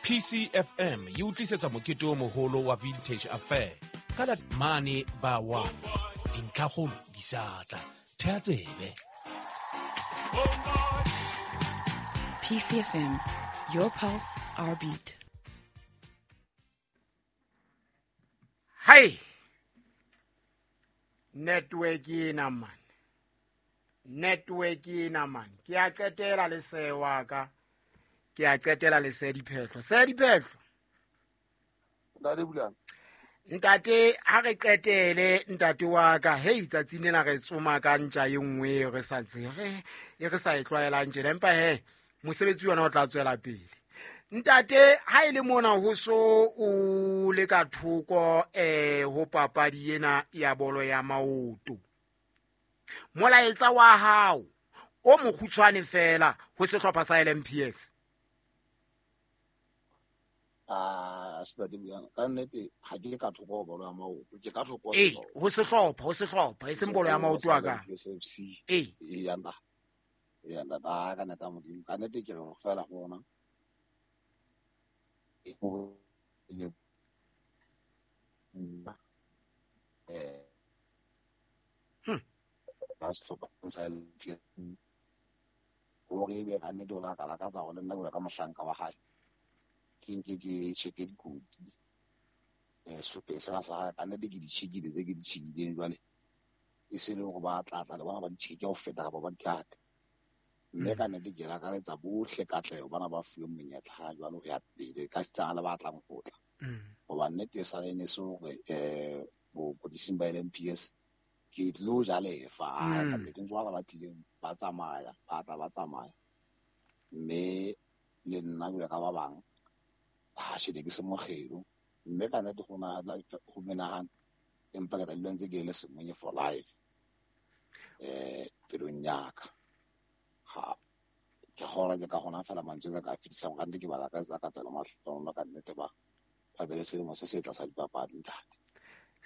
PCFM e o tlisetsa mokete o moholo wa Vintage Affair ka la mane ba wa dintlhakgolo di sa tla thea tsebe. PCFM, your pulse, our beat. Hai, network ena man, network ena man. Ke a qetela le sewa ka, ke a qetela le se diphehlo, se diphehlo. Ntate Bulane. Ntate, ha re qetele ntate wa ka. Hei, tsatsing lena re tsoma ka ntja e nngwe e re sa tsebe, e re sa e tlwaelang tjena, empa he mosebetsi ona o tla tswela pele. Ntate, ha e le mona ho so o le ka thoko ho papadi ena ya bolo ya maoto, molaetsa wa hao o mokgutshwane fela ho sehlopha sa LMPS. Ah, Ntate Bulane, ka nnete ha ke ka thoko ho bolo ya maoto, ke ka thoko ho Ee, sehlopha. ho sehlopha, e seng bolo ya maoto a ka. SFC. Ee. Ee, ntate. Ee, ntate, ah, ka nnete ya Modimo, ka nnete ke re ho fela ho ona. Ba sehlopha sa LMPS. Hore ebe ka nnete o la ka lakatsa hore le nna jwalo ka mohlanka wa hae, ke nke ke check-e dikoti, sehlopheng sena sa hae. Ka nnete ke di check-ile tse ke di check-ileng jwale, e se le hore ba tla tla le bona ba di check-e ho feta kapa ba di kate. Mme ka nnete ke lakaletsa bohle katleho bana ba fuweng monyetla ha jwale ho ya pele, ka sitana le ba tlang ho tla. Hoba nnete e sale ne se hore, bopodising ba LMPS ke tlo ja lefa. Ka nnete ntse ba tlileng ba tsamaya, ba tla ba tsamaya. Mme le nna jwalo ka ba bang, ha shebe ke se mokgelo. Mme ka nnete ho na ho menahane, empa ke tla dula ntse ke le Semonye for life. Pelong ya ka. Ha ke kgolwa ke ka hona fela mantswe ka ka fetisang, ka nnete ke ba lakatsa ka tsela mahlohonolo, ka nnete ba be le selemo se setle sa dipapadi, ntate.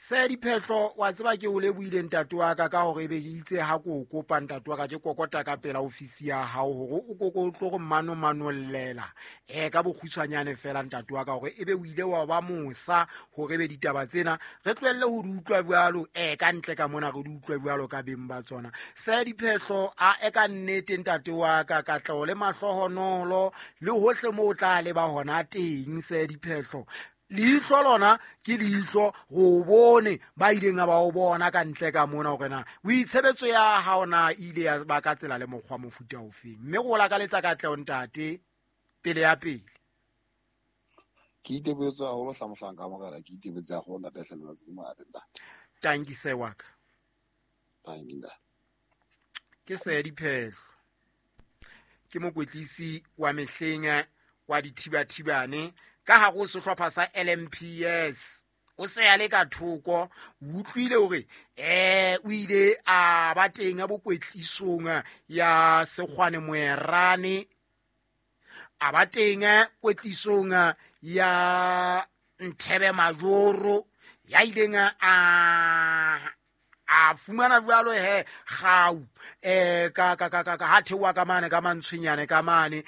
Se diphehlo, wa tseba ke o lebohile ntate wa ka, ka hore ebe ke itse ha ke o kopa ntate wa ka, ke kokota ka pela ofisi ya hao hore o koko o tlo re manomanollela ka bokgutshwanyane fela ntate wa ka, hore ebe o ile wa ba mosa hore ebe ditaba tsena re tlohelle ho di utlwa jwalo, ka ntle ka mona re di utlwe jwalo ka beng ba tsona. Se diphehlo, a e ka nnete ntate wa ka, katleho le mahlohonolo le hohle moo o tla leba hona teng. Se diphehlo, leihlo lona ke leihlo, go bone ba ileng ba o bona ka ntle ka mona hore na o itshebetso ya hao na e ile ya ba ka tsela le mokgwa mofuta ofeng. Mme go lakaletsa katleho ntate, pele ya pele. Ke itebohetse haholo hla mohlanka wa morena, ke itebohetse haholo ntate hle, letsatsi le monate ntate. Tanki se wa ka. Tanki ntate. Ke se diphehlo, ke mokwetlisi wa mehleng wa dithibathibane ka hare ho sehlopha sa LMPS. O se a le ka thoko, o utlwile hore o ile a ba teng a bokwetlisong ya Sekgwane Moerane, a ba teng kwetlisong ya Nthebe Majoro, ya ileng a fumana jwalo he kgau, ka ha theoha ka mane ka mantshwenyane ka mane.